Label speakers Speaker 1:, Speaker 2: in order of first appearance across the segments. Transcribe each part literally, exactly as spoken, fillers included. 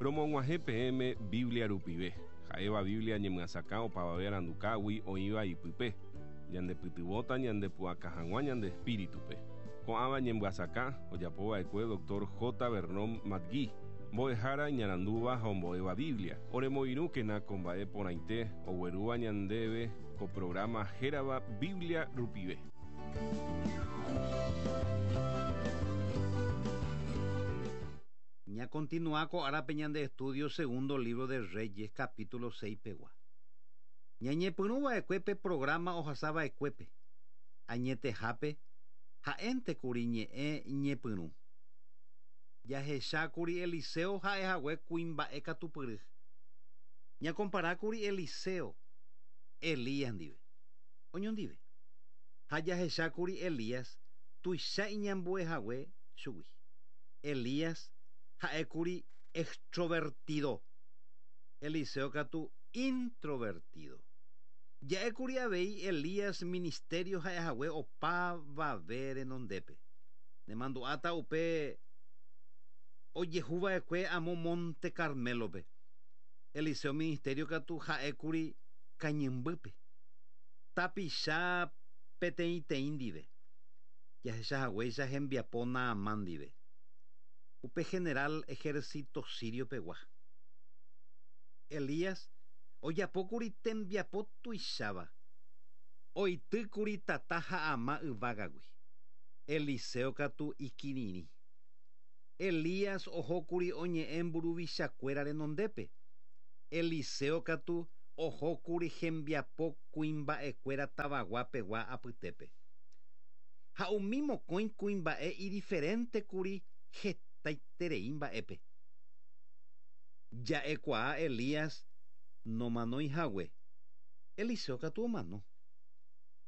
Speaker 1: Romog̃uahẽ peẽme Biblia rupive. Ha'éva Biblia ñemyasakã opavave arandukágui oĩva ipype. Ñandepytyvõta ñandepu'aka hag̃ua ñande espíritupe. Ko'ãva ñemyasakã ojapova'ekue doctor J. Vernon McGee. Mbo'ehára iñarandúva ha ombo'éva Biblia. Oremoirũkena ko mba'e porãite oguerúva ñandéve ko programa hérava Biblia rupive.
Speaker 2: Ña continúa ko árape ñande estudio segundo libro de Reyes capítulo seis pegua. Ñañepyrũva'ekue pe programa ohasava'ekuépe. Añetehápe ha'énte kuri ñe'ẽ ñepyrũ. Jahechákuri Eliseo ha'ehague kuimba'e katupyry. Ñakomparákuri Eliseo Elías ndive. Oñondive. Ha jahechákuri Elías tuicha iñambuehague chugui. Elías ha'ékuri extrovertido. Eliseo katu introvertido. Ja'ékuri avei Elías ministerio ha'ehague opavave renondépe. Nemandu'áta upe ojehuva'ekue amo Monte Carmelope. Eliseo ministerio katu ha'ékuri kañymbýpe. Tapicha peteĩteĩ ndive. Jahechahaguéicha hembiapo Naamán ndive. Upe general ejército sirio pegua. Elías ojapókuri tembiapo tuicháva. Oitýkuri tata ha ama yvágagui. Eliseo katu ikirirĩ. Elías ohókuri oñe'ẽ mburuvichakuéra renondépe. Eliseo katu ohókuri hembiapo kuimba'ekuéra tavaguapegua apytépe. Ha umi mokõi kuimba'e idiferentekuri hetaiterei mba'épe. Ja'ekuaa Elías nomanoihague. Eliseo katu omano.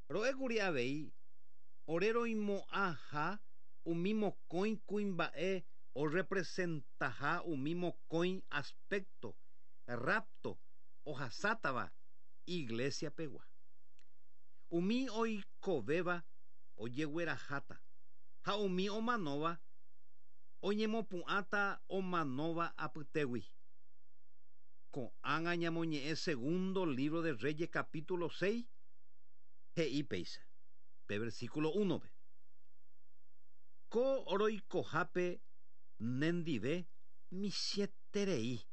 Speaker 2: Ro'ékuri avei ore roimo'ãha umi mokõi kuimba'e orepresentaha umi mokõi aspecto rapto ohasátava iglesia pegua. Umi oikovéva ojegueraháta ha umi omanóva oñemopu'ãta omanóva apytégui. Ko'ág̃a ñamoñe'ẽ segundo libro de Reyes capítulo seis he'i péicha pe versículo uno-pe. Ko roikohápe nendive michĩeterei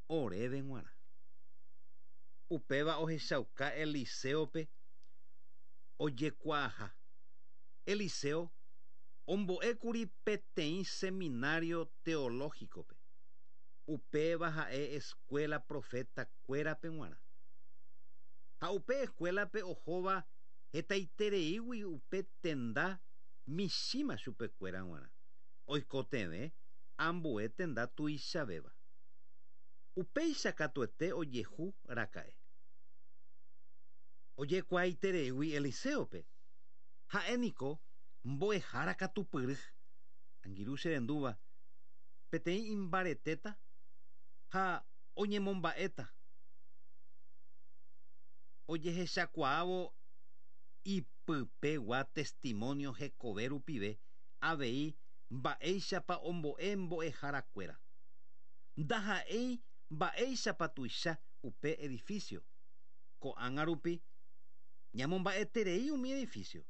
Speaker 2: oréve g̃uarã. Upéva ohechauka Eliseope ojekuaaha. Eliseo ombo'ékuri peteĩ seminario teológicope. Upéva ha'e escuela profetakuérape g̃uarã. Ha upe escuelape ohóva hetaitereígui upe tenda michĩma chupekuéra g̃uarã. Oikotevẽ ambue tenda tuichavéva. Upéicha katuete ojehu raka'e. Ojekuaaitereígui Eliseope. Ha'éniko mbo'ehára katupyry. Angirũ che rendúva peteĩ imbaretéta ha oñemomba'éta. Ojehechakuaávo ipypegua testimonio hekove rupive avei mba'éichapa ombo'e mbo'eharakuéra. Ndaha'éi mba'éichapa tuicha upe edificio. Ko'ág̃a rupi ñamomba'eterei umi edificio.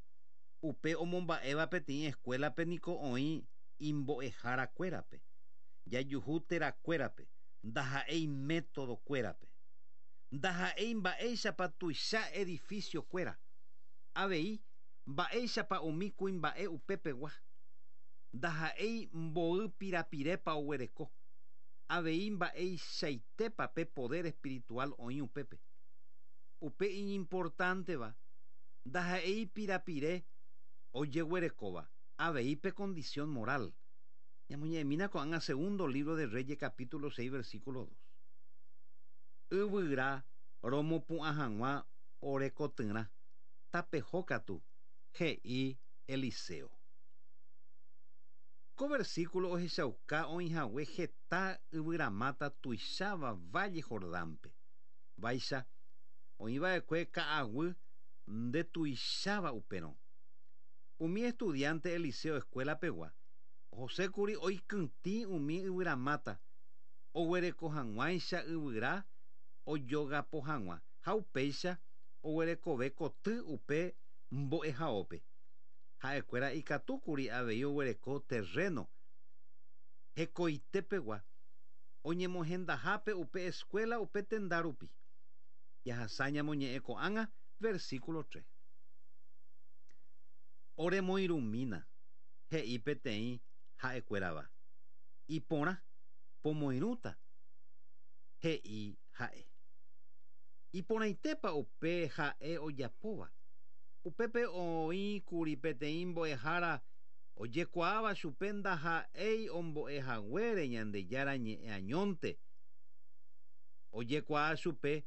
Speaker 2: Upe omomba'éva peteĩ escuelape niko oĩ imbo'eharakuérape. Jajuhu terakuérape, ndaha'éi métodokuérape. Ndaha'éi mba'éichapa tuicha edificiokuéra. Avei mba'éichapa umi kuimba'e upepegua. Ndaha'éi mboy pirapirépa oguereko. Avei mba'eichaitépa pe poder espiritual oĩ upépe. Upe iñimportánteva ndaha'éi pirapire ojeguerekóva. Avei pe condición moral. Ñamoñe'ẽmína ko'ág̃a segundo libro de Reyes capítulo seis versículo dos. Yvyra romopu'ã hag̃ua orekotyrã. Tapeho katu he'i Eliseo. Ko versículo ohechauka oĩhague heta yvyramáta tuicháva Valle Jordánpe. Vaicha oĩva'ekue ka'aguy ndetuicháva upérõ. Umi estudiante Eliseo escuela pegua Josékuri oikytĩ umi yvyramáta Oguereko hag̃uáicha yvyra ojogapo hag̃ua ha upéicha oguerekove koty upe mbo'ehaópe. Ha'ekuéra ikatúkuri avei oguereko terreno hekoitepegua oñemohendahápe upe escuela upe tenda rupi. Jahasa ñamoñe'ẽ ko'ág̃a versículo tres. Oremoirũmína he'i peteĩ ha'ekuérava. Iporã pomoirũta he'i ha'e. Iporãitépa upe ha'e ojapóva. Upépe oĩkuri peteĩ mbo'ehára ojekuaáva chupe ndaha'éi ombo'ehaguére Ñandejára ñe'ẽ añónte. Ojekuaa chupe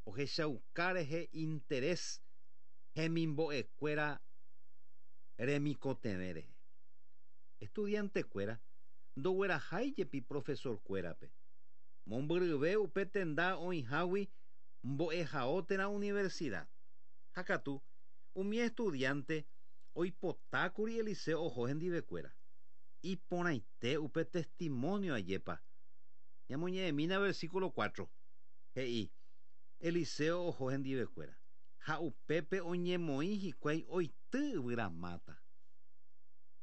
Speaker 2: ohechauka rehe interés hemimbo'ekuéra remikotevẽ rehe. Estudiantekuéra ndoguerahái jepi profesorkuérape. Mombyryve upe tenda oĩhágui mbo'ehao térã universidad. Ha katu umi estudiante oipotákuri Eliseo oho hendivekuéra. Iporãite upe testimonio ajépa. Ñamoñe'ẽmína versículo cuatro. He'i Eliseo oho hendivekuéra. Ha upépe oñemoĩ hikuái oity yvyramáta.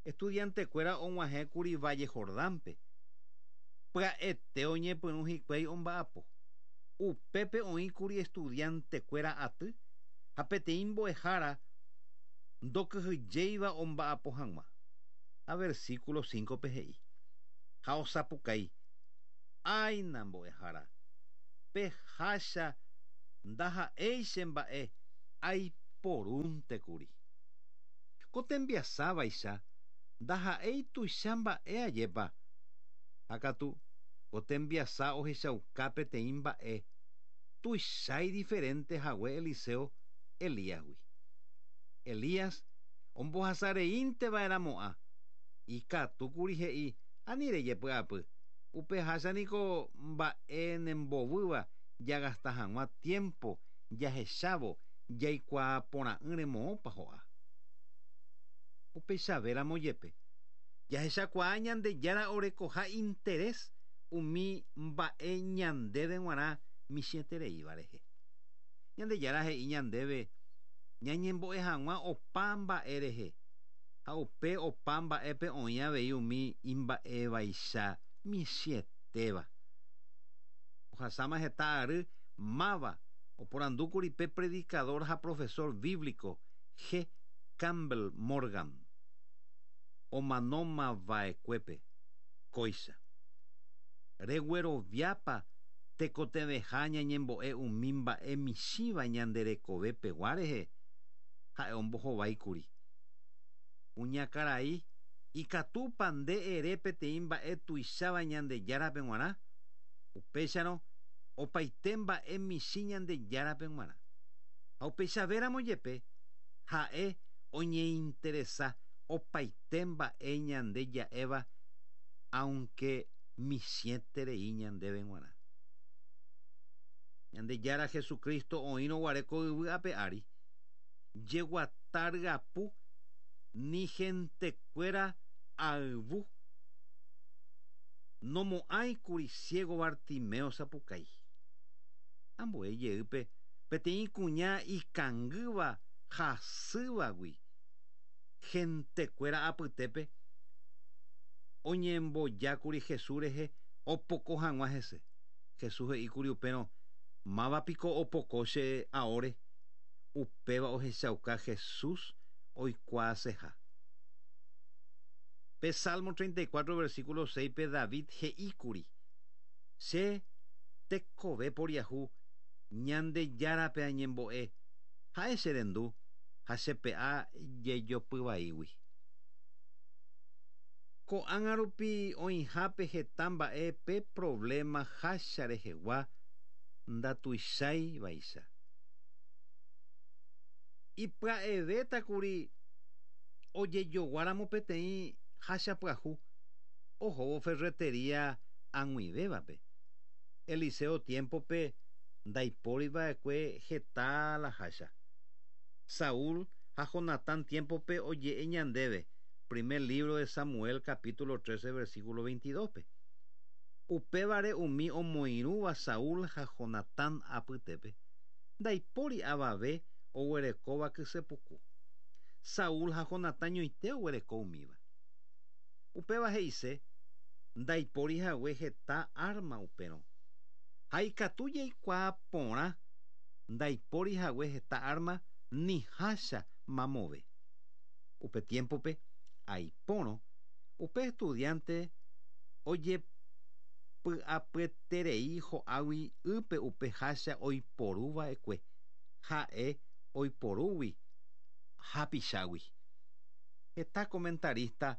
Speaker 2: Estudiantekuéra og̃uahẽkuri Valle Jordánpe. Pya'ete oñepyrũ hikuái omba'apo. Upépe oĩkuri estudiantekuéra aty ha peteĩ mbo'ehára ndokyhyjéiva omba'apo hag̃ua. Ha versículo cinco pe he'i. Ha osapukái. Áina mbo'ehára. Pehácha ndaha'éi che mba'e aiporúntekuri. Ko tembiasávaicha ndaha'éi tuicha mba'e ajépa. Ha katu ko tembiasa ohechauka peteĩ mba'e tuichái diferente hague Eliseo Elíasgui. Elías ombohasareínteva'erãmo'ã. Ikatúkuri he'i ani rejepy'apy. Upe háchaniko mba'e nembovýva jagasta hag̃ua tiempo jahechávo jaikuaaporã'ỹre moõpa ho'a. Upeichavéramo jepe. Jahechakuaa Ñandejára orekoha interés umi mba'e ñandéve g̃uarã michĩetereíva rehe. Ñandejára he'i ñandéve ñañembo'e hag̃ua opa mba'e rehe. Ha upe opa mba'épe oĩ avei umi imba'evaicha michĩetéva. Ohasáma heta ary máva oporandúkuri pe predicador ha profesor bíblico G. Campbell Morgan. Omanómava'ekuépe kóicha. Regueroviápa tekotevẽha ñañembo'e umi mba'e michĩva ñanderekovepegua rehe. Ha'e ombohováikuri. Kuñakarai ikatúpa nde ere peteĩ mba'e tuicháva Ñandejárape g̃uarã. Upéicharõ opaite mba'e michĩ Ñandejárape g̃uarã. Ha upeichavéramo jepe ha'e oñeinteresa opaite mba'e ñande ja'éva aunque michĩeterei ñandéve g̃uarã. Ñandejára Jesucristo oĩrõ guare ko yvy ape ári jeguata ryapu ni gentekuéra ayvu nomo'ãikuri ciego Bartimeo sapukái. Ambue jeýpe peteĩ kuña ikangýva hasývagui gentekuéra apytépe oñembojákuri Jesús rehe opoko hag̃ua hese. Jesús he'íkuri upérõ mávapiko opoko che aóre. Upéva ohechauka Jesús oikuaaseha. Pe Salmo treinta y cuatro versículo seis pe David he'íkuri. Che tekove poriahu Ñandejárape añembo'e ha'e che rendu ha chepe'a jejopyvaígui. Ko'ág̃a rupi oĩhápe heta mba'e pe problema hácha rehegua ndatuicháivaicha. Ipya'evétakuri ojejoguáramo peteĩ hácha pyahu ohóvo ferretería ag̃uivévape. Eliseo tiempope ndaipóriva'ekue heta la hácha. Saúl ha Jonatán tiempope oje'e ñandéve. Primer libro de Samuel capítulo trece versículo veintidós pe. Upévare umi omoirũva Saúl ha Jonatán apytépe. Ndaipóri avave oguerekóva kysepuku. Saúl ha Jonatán ñoite oguereko umíva. Upéva he'ise ndaipóri hague heta arma upérõ. Ha ikatu jaikuaa porã ndaipóri hague heta arma ni hácha mamove. Upe tiempope aipórõ upe estudiante ojepy'apyeterei ho'águi ýpe upe hácha oiporuva'ekue ha'e oiporúgui hapichágui. Heta comentarista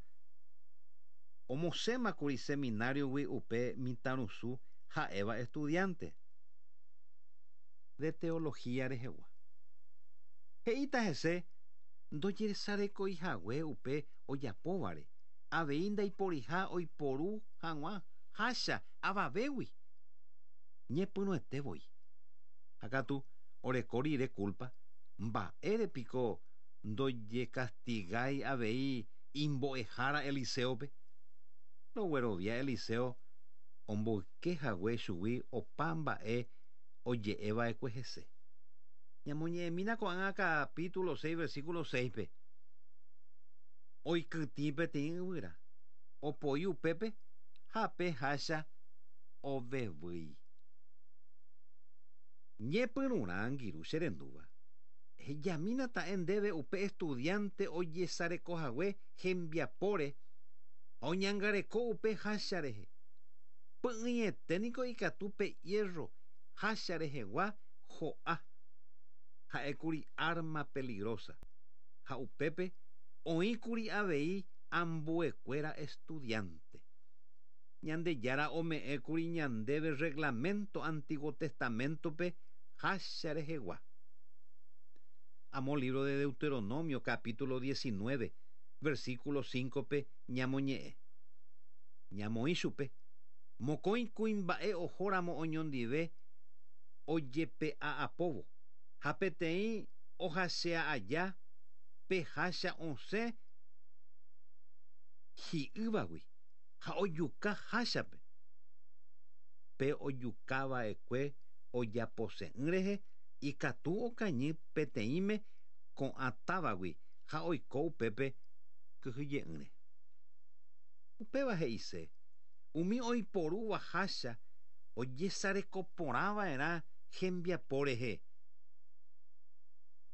Speaker 2: omosẽmakuri seminariogui upe mitãrusu ha'éva estudiante de teología rehegua. He'íta hese ndojesarekoihague upe ojapóvare avei ndaiporiha oiporu hag̃ua hácha avavégui. Ñepyrũetevoi. Ha katu oreko rire culpa mba'érepiko ndojekastigái avei imbo'ehára Eliseope. Roguerovia Eliseo omboykehague chugui opa mba'e oje'eva'ekue hese. Ñamoñe'ẽmína ko'ág̃a capítulo seis versículo seis-pe. Oikytĩ peteĩ yvyra, opoi upépe ha pe hácha ovevýi. Ñepyrũrã angirũ cherendúva. Hejamína ta'e ndéve upe estudiante ojesarekohague hembiapóre ha oñangareko upe hácha rehe. Py'ỹiete niko ikatu pe hierro hácha rehegua ho'a. Ha'ékuri arma peligrosa. Ha upépe oĩkuri avei ambuekuéra estudiante. Ñandejára ome'ẽkuri ñandéve reglamento Antiguo Testamentope hácha rehegua. Amo libro de Deuteronomio capítulo diecinueve versículo cinco-pe ñamoñe'ẽ. Ñamoĩ chupe mokõi kuimba'e ohóramo oñondive ojepe'a'apóvo ha peteĩ ohasea aja pe hácha osẽ hi'ývagui ha ojuka háchape. Pe ojukava'ekue ojapose'ỹ rehe ikatu okañy peteĩme ko'ã távagui ha oiko upépe kyhyje'ỹre. Upéva he'ise umi oiporúva hácha ojesarekoporãva'erã hembiapo rehe.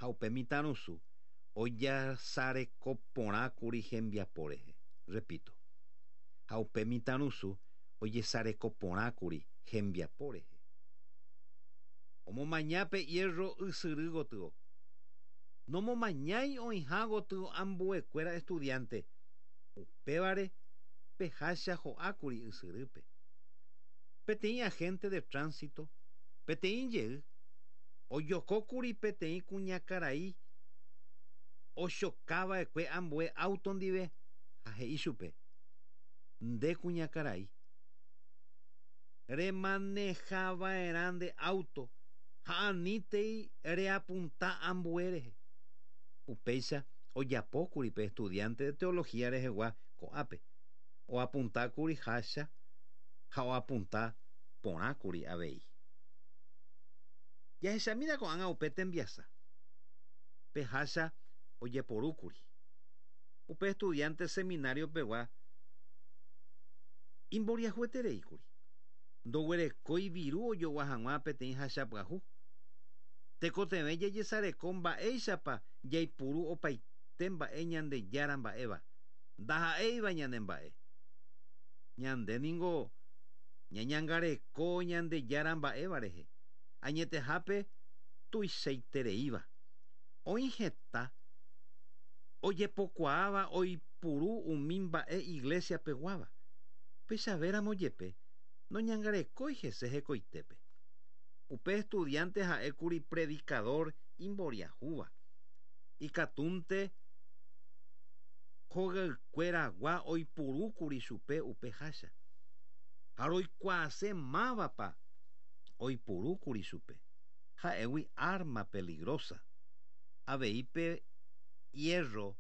Speaker 2: Ha upe mitãrusu ojesarekoporãkuri hembiapo rehe. Repito. Ha upe mitãrusu ojesarekoporãkuri hembiapo rehe. Omomaña pe hierro ysyry gotyo. Nomomañái oĩha gotyo ambuekuéra estudiante. Upévare pe hácha ho'ákuri ysyrýpe. Peteĩ agente de tránsito, peteĩ jey, ojokókuri peteĩ kuñakarai ochokava'ekue ambue auto ndive ha he'i chupe nde kuñakarai remanejava'erã nde auto ha anítei reapunta ambue rehe. Upéicha ojapókuri pe estudiante de teología rehegua ko'ápe. Oapuntákuri hácha ha oapunta porãkuri avei. Jahechamína ko'ág̃a upe tembiasa. Pe hácha ojeporúkuri. Upe estudiante seminario pegua imboriahuetereíkuri. Ndoguerekói viru ojogua hag̃ua peteĩ hácha pyahu. Tekotevẽ jajesareko mba'éichapa jaipuru opaite mba'e Ñandejára mba'éva. Ndaha'éiva ñanemba'e. Ñande ningo ñañangareko Ñandejára mba'éva rehe. Añetehápe tuichaitereíva. Oĩ heta ojepokuaáva oipuru umi mba'e iglesia peguáva. Upéichavéramo jepe noñangarekói hese hekoitépe. Upe estudiante ha'ékuri predicador imboriahúva. Ikatúnte hogaykueragua oipurúkuri chupe upe hácha. Ha roikuaase mávapa oipurúkuri chupe. Ha'égui arma peligrosa. Avei pe hierro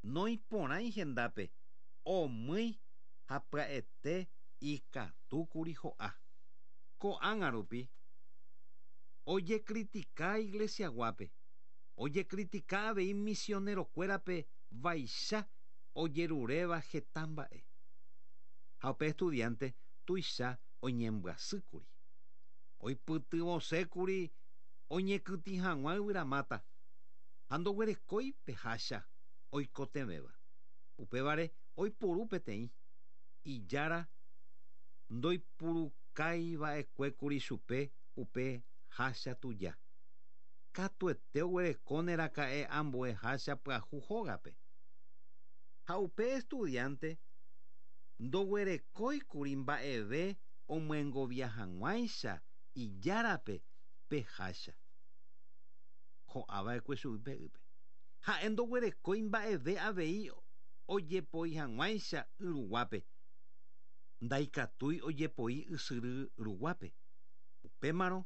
Speaker 2: noiporãi hendápe omýi ha pya'ete Ikatúkuri ho'a. Ko'ág̃a rupi ojecritica iglesiaguápe, ojecritica avei misionerokuérape vaicha ojeruréva heta mba'e. Ha upe estudiante tuicha oñembyasýkuri. Oipytyvõsékuri oñekytĩ hag̃ua yvyramáta ha ndoguerekói pe hácha oikotevẽva. Upévare oiporu peteĩ ijára ndoipurukaiva'ekuékuri chupe upe hácha tuja. Katuete oguerekóneraka'e ambue hácha pyahu hógape. Ha upe estudiante ndoguerekóikuri mba'eve omyengovia hag̃uáicha ijárape pe hácha. Ho'ava'ekue chugui pe ýpe. Ha'e ndoguerekói mba'eve avei ojepoi hag̃uáicha y ruguápe. Ndaikatúi ojepoi ysyry ruguápe. Upémarõ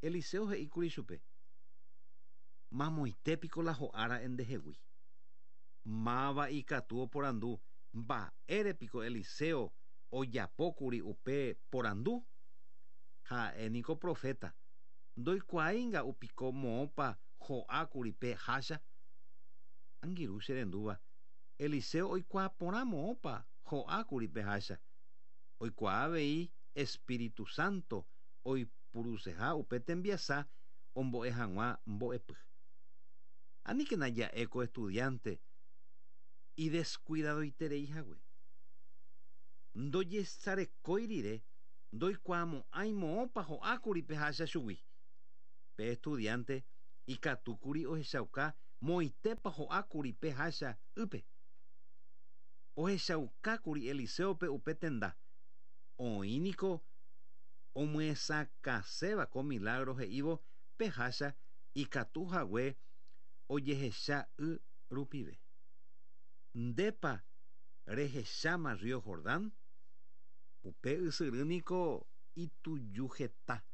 Speaker 2: Eliseo he'íkuri chupe: Mamoitépiko la ho'ára'e ndehegui. Máva ikatu oporandu mba'érepiko Eliseo ojapókuri upe porandu. Ha'éniko profeta. Ndoikuaáinga upiko moõpa ho'ákuri pe hácha. Angirũ cherendúva, Eliseo oikuaa porã moõpa ho'ákuri pe hácha. Oikuaa avei Espíritu Santo oipuruseha upe tembiasa ombo'e hag̃ua mbo'epy. Aníkena ja'e ko estudiante idescuidadoiterei hague. Ndojesarekói rire ndoikuaamo'ãi moõpa ho'ákuri pe hácha chugui. Pe estudiante ikatúkuri ohechauka moitépa ho'ákuri pe hácha ýpe. Ohechaukákuri Eliseope upe tenda. Oĩniko omyesakãséva ko milagro he'ívo pe hácha ikatu hague ojehecha y rupive. Ndépa rehecháma río Jordán? Upe ysyrýniko itujuheta.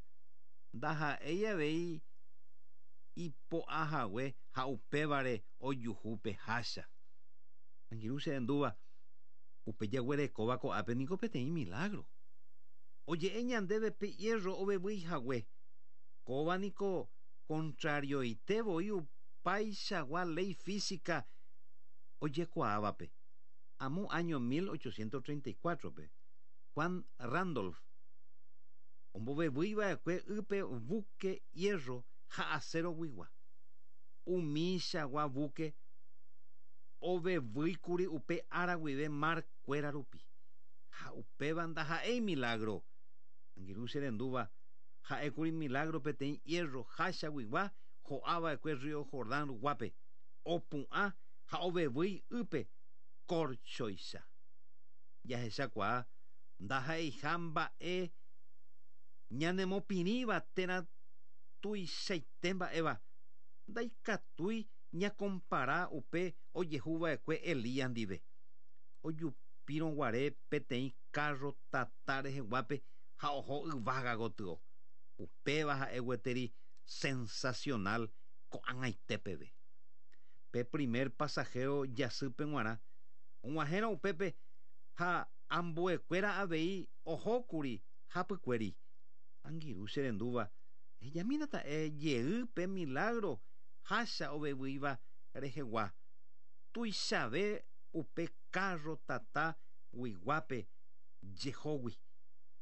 Speaker 2: Ndaha'éi avei ipo'a hague ha upévare ojuhu pe hácha. Angirũ cherendúva, upe jaguerekóva ko'ápe niko peteĩ milagro. Oje'e ñandéve pe hierro ovevýi hague. Kóva niko contrarioite voi upaichagua ley física ojekuaávape. Amo año mil ochocientos treinta y cuatro-pe, Juan Randolph ombovevýiva'ekue ýpe buque hierro ha acero guigua. Umichagua buque ovevýikuri upe ára guive mar kuéra rupi. Ha upéva ndaha'éi milagro. Angirũ cherendúva, ha'ékuri milagro peteĩ hierro hácha guigua ho'ava'ekue río Jordán ruguápe. Opu'ã ha ovevýi ýpe korchoicha. Jahechakuaa ndaha'eiha mba'e ñanemopirĩva térã tuichaite mba'éva. Ndaikatúi ñakompara upe ojehuva'ekue Elías ndive. Ojupírõguare peteĩ carro tata reheguápe ha oho yvága gotyo. Upéva ha'e gueteri sensacional ko'ag̃aite peve. Pe primer pasajero jasýpe g̃uarã og̃uahẽrõ upépe ha ambuekuéra avei ohókuri hapykuéri. Angirũ cherendúva, ejamínata'e jey pe milagro hácha ovevýiva rehegua. Tuichave upe carro tata guiguápe jehógui.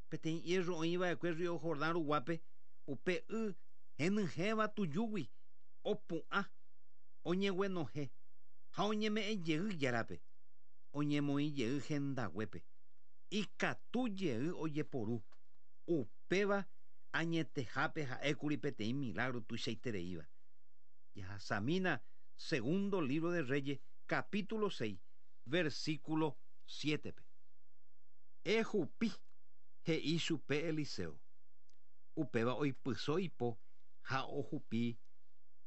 Speaker 2: Peteĩ hierro oĩva'ekue río Jordán ruguápe upe y henyhẽva tujúgui opu'ã oñeguenohẽ ha oñeme'ẽ jey járape. Oñemoĩ jey hendaguépe. Ikatu jey ojeporu. Upéva añetehápe ha'ékuri peteĩ milagro tuichaitereíva. Jahasamína segundo libro de Reyes, capítulo seis, versículo siete-pe. Ejupi, he'i chupe Eliseo. Upéva oipyso ipo ha ojupi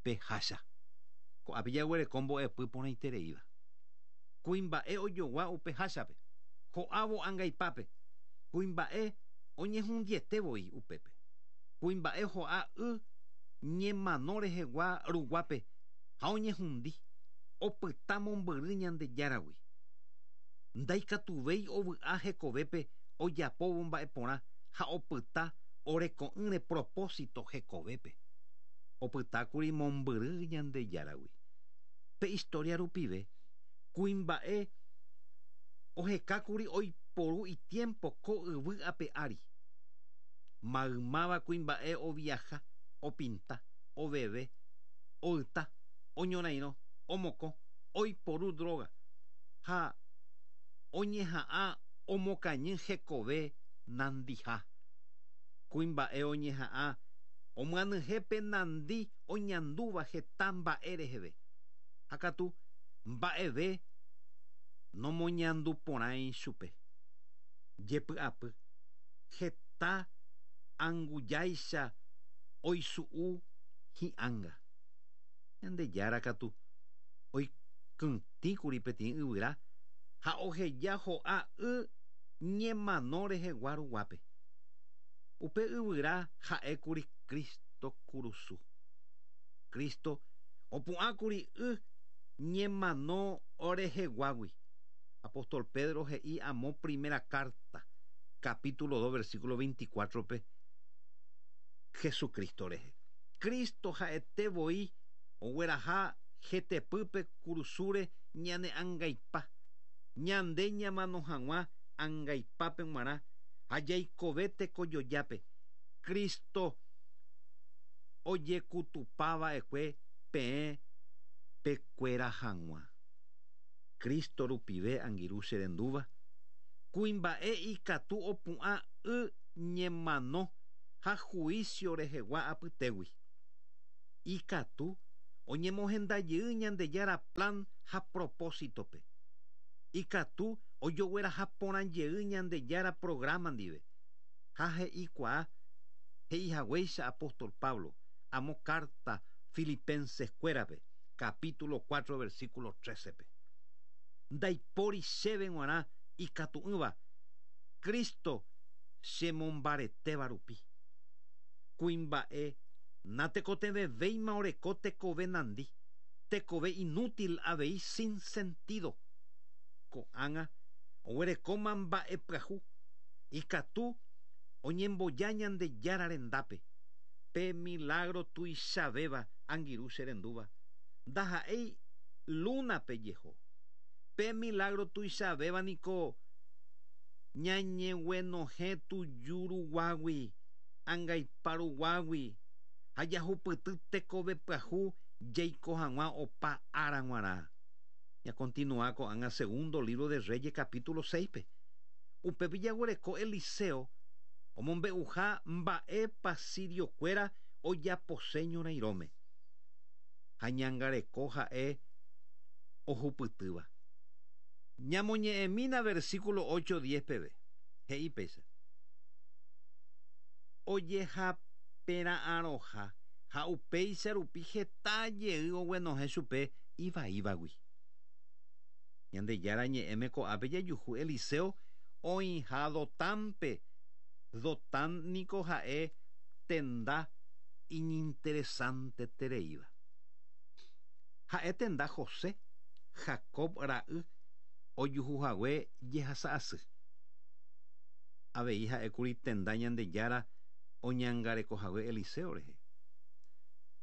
Speaker 2: pe hácha. Ko'ápe jaguereko mbo'epy porãitereíva. Kuimba'e ojogua upe háchape. Ho'ávo angaipápe. Kuimba'e oñehundiete voi upépe. Kuimba'e ho'a y ñemano rehegua ruguápe ha oñehundi opyta mombyry Ñandejáragui. Ndaikatuvéi ovy'a hekovépe ojapóvo mba'eporã ha opyta oreko'ỹre propósito hekovépe. Opytákuri mombyry Ñandejáragui. Pe historia rupive kuimba'e ohekákuri oiporu itiempo ko yvy ape ári. Maymáva kuimba'e oviaja, opinta, oveve, oyta, oñorairõ, omokõ, oiporu droga ha oñeha'ã omokañy hekove nandiha. Kuimba'e oñeha'ã omyanyhẽpe nandi oñandúva heta mba'e reheve. Ha katu mba'eve nomoñanduporãi chupe. Jepy'apy heta angujáicha oisu'u hi'ánga. Ñandejára katu oikytĩkuri peteĩ yvyra ha oheja ho'a y ñemano rehegua ruguápe. Upe yvyra ha'ékuri Cristo kurusu. Cristo opu'ãkuri y ñemano oreheguágui. Apóstol Pedro he'i amo primera carta, capítulo dos, versículo veinticuatro-pe, Jesucristo rehe. Cristo ha'ete voi ogueraha hetepýpe kurusúre ñane angaipa. Ñande ñamano hag̃ua angaipápe g̃uarã ha jaikove tekojojápe. Cristo ojekutupava'ekue peẽ pekuera hag̃ua. Cristo rupive angirũ cherendúva kuimba'e ikatu opu'ã y ñemano ha juicio rehegua apytégui. Ikatu oñemohendajey Ñandejára plan ha propósitope. Ikatu ojogueraha porãjey Ñandejára programa ndive. Ha he'ikuaa he'ihaguéicha apóstol Pablo amo carta Filipenses kuérape, capítulo cuatro, versículo trece-pe. Ndaipóri chéve g̃uarã ikatu'ỹva Cristo chemombaretéva rupi. Kuimba'e natekotevẽvéima oreko tekove nandi, tekove inútil avei sin sentido. Ko'ág̃a oguerekóma mba'e pyahu ikatu oñemboja Ñandejára rendápe. Pe milagro tuichavéva angirũ cherendúva ndaha'éi luna-pe jeho. Pe milagro tuichavéva niko ñañeguenohẽ tujuruguágui, angaiparuguágui ha jahupyty tekove pyahu jaiko hag̃ua opa ára g̃uarã. Ñakontinua ko'ág̃a segundo libro de Reyes capítulo seis-pe. Upépe jaguereko Eliseo omombe'uha mba'épa siriokuéra ojapose ñorairõme. Ha ñangareko ha'e ohupytýva. Ñamoñe'ẽmína versículo ocho diez peve. He'i péicha. Ojehapera'ãroha ha upéicha rupi heta jey oguenohẽ chupe ivaívagui. Ñandejára ñe'ẽme ko'ápe jajuhu Eliseo oĩha Dotánpe. Dotán niko ha'e tenda iñinteresantetereíva. Ha'e tenda José, Jacob ra'y ojuhuhague jehasa'asy. Avei ha'ékuri tenda Ñandejára oñangarekohague Eliseo rehe.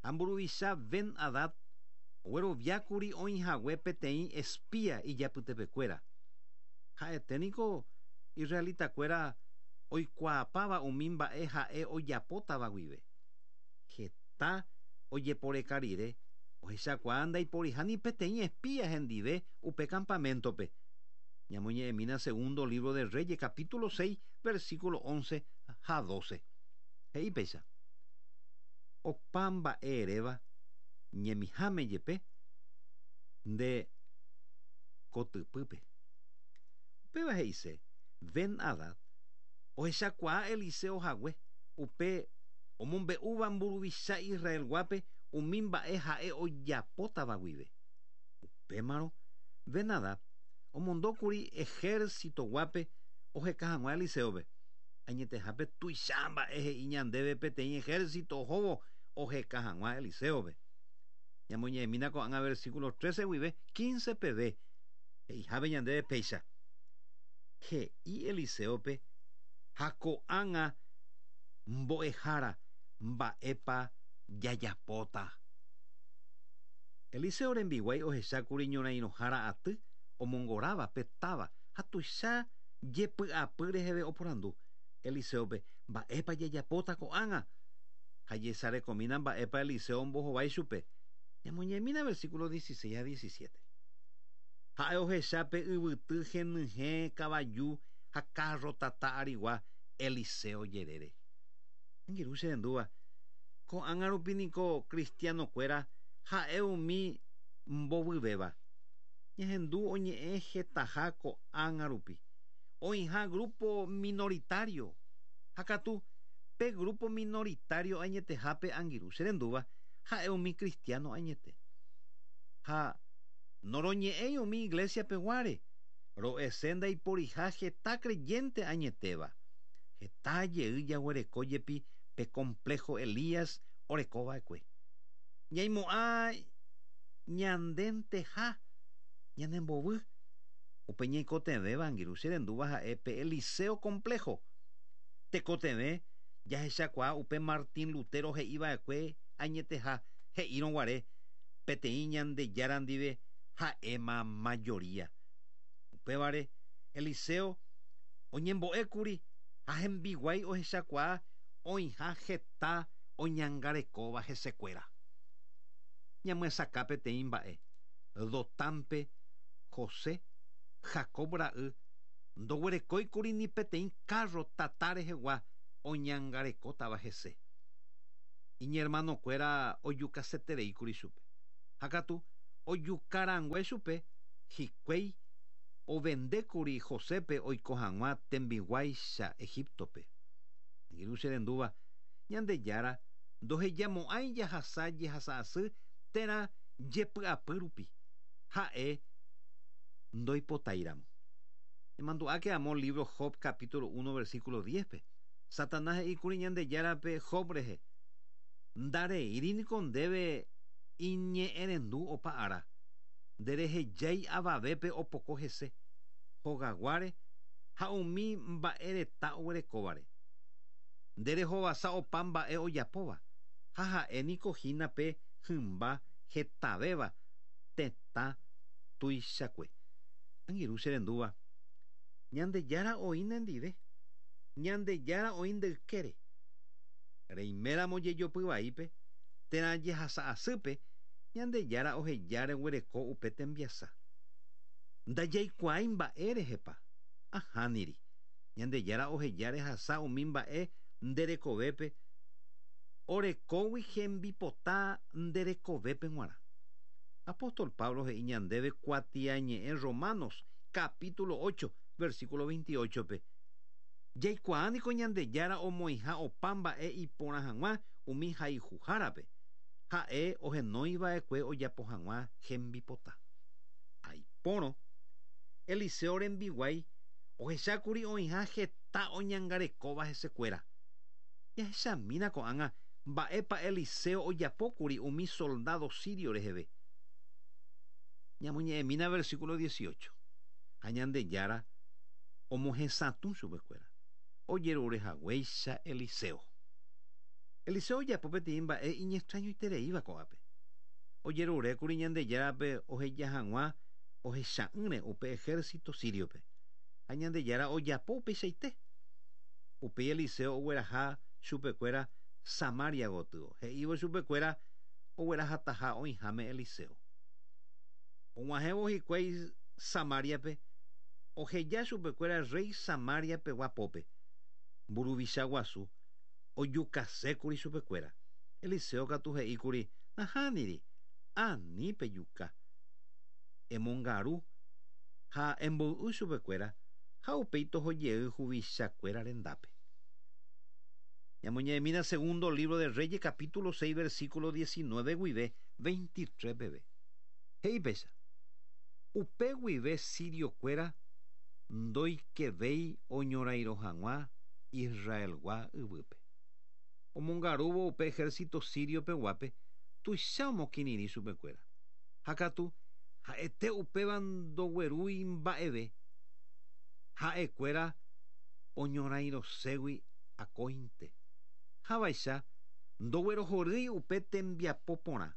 Speaker 2: Ha mburuvicha Ben-Hadad ogueroviákuri oĩhague peteĩ espía ijapytepekuéra. Ha'ete niko israelitakuéra oikuaapáva umi mba'e ha'e ojapótava guive. Heta ojeporeka rire ohechakuaa ndaiporiha ni peteĩ espía hendive upe campamento-pe. Ñamoñe'ẽmína segundo libro de Reyes capítulo seis versículo once ha doce. He'i péicha. Opa mba'e eréva ñemiháme jepe nde kotypýpe. Upéva he'ise Ben-Hadad ohechakuaa Eliseo hague upe omombe'úva mburuvicha Israelguápe umi mba'e ha'e ojapótava guive. Upémarõ Ben-Hadad omondókuri ejército-guápe oheka hag̃ua Eliseope. Añetehápe tuicha mba'e he'i ñandéve peteĩ ejército ohóvo oheka hag̃ua Eliseope. Ñamoñe'ẽmína ko'ág̃a versículo trece guive quince peve. He'ihápe ñandéve péicha. He'i Eliseope Ha ko'ág̃a mbo'ehára mba'épa jajapóta. Eliseo rembiguái ohechákuri ñorairõhára aty omongoráva pe táva ha tuicha jepy'apy reheve oporandu. Eliseope mba'épa jajapóta ko'ág̃a. Ha jesarekomína mba'épa Eliseo ombohovái chupe. Ñamoñemína versículo dieciséis ha diecisiete. Ha'e ohechápe yvyty henyhẽ kavaju ha kárro tata arigua Eliseo jerére. Angirũ cherendúva. Ko'ág̃a rupi niko cristianokuéra ha'e umi mbovyvéva. Ñahendu oñe'ẽ hetaha ko'ág̃a rupi. Oĩha grupo minoritario. Ha katu pe grupo minoritario añetehápe angirũ cherendúva ha'e umi cristiano añete. Ha noroñe'ẽi umi iglesia peguáre. Ro'ese ndaiporiha heta creyente añetéva. Heta jey jaguereko jepi pe complejo Elías orekova'ekue. Ñaimo'ã ñandenteha ñanembovy. Upe ñaikotevẽva angirũ cherendúva ha'e pe Eliseo complejo. Tekotevẽ jahechakuaa upe Martín Lutero he'iva'ekue añeteha he'írõguare peteĩ Ñandejára ndive ha'éma mayoría. Upévare Eliseo oñembo'ékuri ha hembiguái ohechakuaa oĩha heta oñangarekóva hesekuéra. Ñamyesakã peteĩ mba'e. Dotámpe José Jacob ra'y ndoguerekóikuri ni peteĩ kárro tata rehegua oñangarekótava hese. Iñermanokuéra ojukasetereíkuri chupe. Ha katu ojukarangue chupe hikuái ovendékuri Josépe oiko hag̃ua tembiguáicha Egiptope. Angirũ cherendúva Ñandejára ndohejamo'ãi jahasa jehasa'asy térã jepy'apy rupi. Ha'e ndoipotáiramo. Emandu'áke amo libro Job capítulo uno versículo diez-pe. Satanás he'íkuri Ñandejárape Job rehe. Ndareíri niko ndéve iñe'ẽrendu opa ára. Nderehejái avavépe opoko hese hogaguáre ha umi mba'ereta oguerekóvare. Nderehovasa opa mba'e ojapóva ha ha'e niko hína pe hymba hetavéva tetã tuichakue. Angirũ cherendúva. Ñandejára oĩ nendive. Ñandejára oĩ ndeykére. Reiméramo jejopyvaípe térã jehasa'asýpe Ñandejára oheja reguereko upe tembiasa. Ndajaikuaái mba'e rehepa. Ahániri. Ñandejára oheja rehasa umi mba'e nderekovépe orekógui hembipota nderekovépe g̃uarã. Apóstol Pablo he'i ñandéve kuatiañe'ẽ Romanos capítulo ocho versículo veintiocho-pe. Jaikuaa niko Ñandejára omoĩha opa mba'e iporã hag̃ua umi hayhuhárape. Ha'e ohenóiva'ekue ojapo hag̃ua hembipota. Aipórõ Eliseo rembiguái ohechákuri oĩha heta oñangarekóva hesekuéra. Jahechamína ko'ág̃a mba'épa Eliseo ojapókuri umi soldado sirio reheve. Ñamoñe'ẽmína versículo dieciocho. Ha Ñandejára omohesatũ chupekuéra. Ojerurehaguéicha Eliseo. Eliseo ojapo peteĩ mba'e iñextrañoitereíva ko'ápe. Ojerurékuri Ñandejárape oheja hag̃ua ohecha'ỹre upe ejército siriope. Ha Ñandejára ojapo upeichaite. Upéi Eliseo ogueraha chupekuéra Samaria gotyo. He'ívo chupekuéra oguerahataha oĩháme Eliseo. Og̃uahẽvo hikuái Samariape oheja chupekuéra rey Samaria guapópe. Mburuvicha guasu ojukasékuri chupekuéra. Eliseo katu he'íkuri nahániri ani pejuka. Emongaru ha emboy'u chupekuéra ha upéi tohojey huvichakuéra rendápe. Ñamoñe'ẽmína segundo libro de Reyes capítulo seis versículo diecinueve guive veintitrés peve. He'i péicha. Upe guive siriokuéra ndoikevéi oñorairõ hag̃ua Israelgua yvýpe. Omongarúvo upe ejército sirio peguápe tuicha omokirirĩ chupekuéra. Ha katu ha'ete upéva ndoguerúi mba'eve. Ha'ekuéra Oñorairõségui akóinte. Havaicha ndoguerohorýi upe tembiapo porã.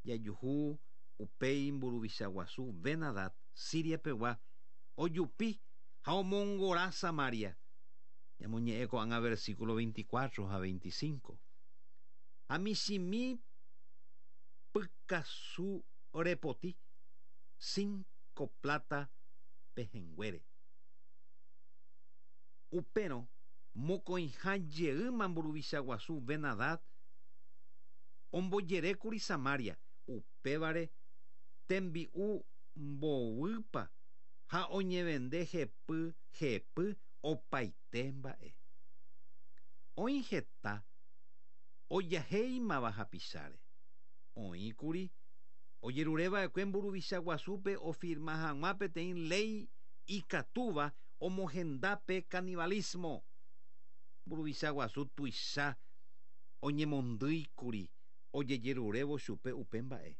Speaker 2: Jajuhu upéi mburuvicha guasu Ben-Hadad Siria-pegua ojupi ha omongora Samaria. Ñamoñe'ẽ ko'ág̃a versículo veinticuatro ha veinticinco. Ha michĩmi pykasu repoti cinco plata pehẽnguére. Upérõ mokõiha jeýma mburuvicha guasu Ben-Hadad ombojerékuri Samaria, upévare tembi'u mbovypa ha oñevende hepy hepy opaite mba'e. Oĩ heta ojahéimava hapicháre. Oĩkuri ojerureva'ekue mburuvicha guasúpe ofirma hag̃ua peteĩ léi ikatúva omohenda pe canibalismo. Mburuvicha guasu tuicha oñemondýikuri ojejerurévo chupe upe mba'e.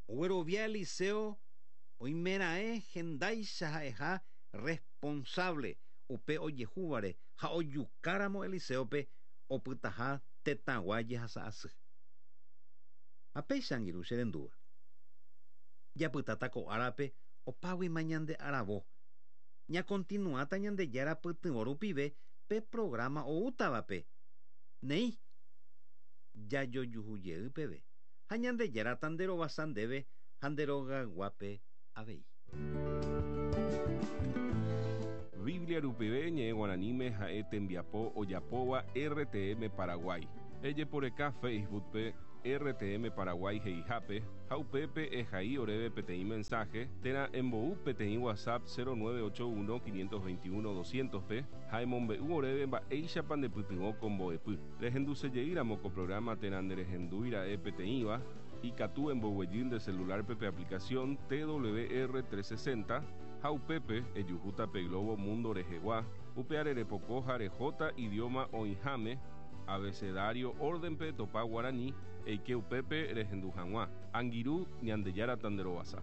Speaker 2: Oguerovia Eliseo oimeraẽ hendáicha ha'eha responsable upe ojehúvare ha ojukáramo Eliseope opytaha tetãgua jehasa'asy. Ha péicha angirũ che rendúva. Japytáta ko árape opáguima ñande aravo. Ñakontinuáta Ñandejára pytyvõ rupive pe programa oútavape. Néi, jajojuhujey peve ha Ñandejára nderovasa ndéve ha nderogayguápe avei.
Speaker 1: Biblia rupive ñe'ẽ guaraníme ha'e tembiapo ojapóva R T M Paraguay. Ejeporeka Facebook-pe R T M Paraguay he'ihápe ha upépe ehai oréve peteĩ mensaje térã embou peteĩ WhatsApp cero nueve ocho uno quinientos veintiuno doscientos-pe ha emombe'u oréve mba'éichapa ndepytyvõ ko mbo'epy. Rehendusejeýramo ko programa térã nderehendúira'e peteĩva, ikatu emboguejy nde celular-pe pe aplicación T W R trescientos sesenta ha upépe ejuhúta pe globo mundo rehegua, upe arerepoko ha rehóta idioma oĩháme abecedario orden-pe topa guaraní eike upépe rehendu hag̃ua. Angirũ, Ñandejára tanderovasa.